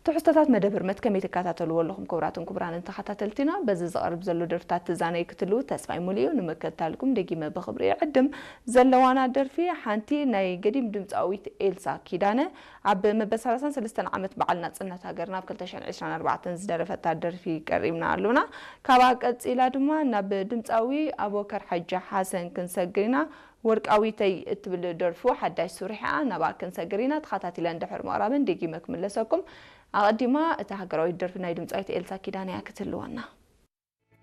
ትሕዝቶታት መደብ ህርመት ከመይ ትከታተልዎ ኣለኹም? ክቡራትን ክቡራንን ተኸታተልቲና፣ በዚ ዝቐርብ ዘሎ ደርፍታት ትዛነዩ ክትህልዉ ተስፋይ ሙሉእ እዩ። ንምክትታልኩም ደጊመ ብኽብሪ ይዕድም። ዘለዋና ደርፊ ሓንቲ ናይ ገዲም ድምፃዊት ኤልሳ ኪዳነ ኣብ መበል ሰላሳን ሰለስተን ዓመት በዓል ናጽነት ሃገርና ኣብ ክልተ ሽሕን ዕስራን ኣርባዕተን ዝደረፈታ ደርፊ ቀሪብና ኣሎና። ካብኣ ቀጺላ ድማ ናብ ድምፃዊ ኣቡበከር ሓጂ ሓሰን ክንሰግር ኢና። ወርቃዊተይ እትብል ደርፉ ሓዳሽ ስሪሓ ናብኣ ክንሰግር ኢና። ተኸታቲለ እንድሕር ምቕራበን ደጊመ ክምለሰኩም። ኣቐዲማ እታ ሃገራዊት ደርፊ ናይ ድምፃዊት ኤልሳ ኪዳነ እያ ክትህልወና።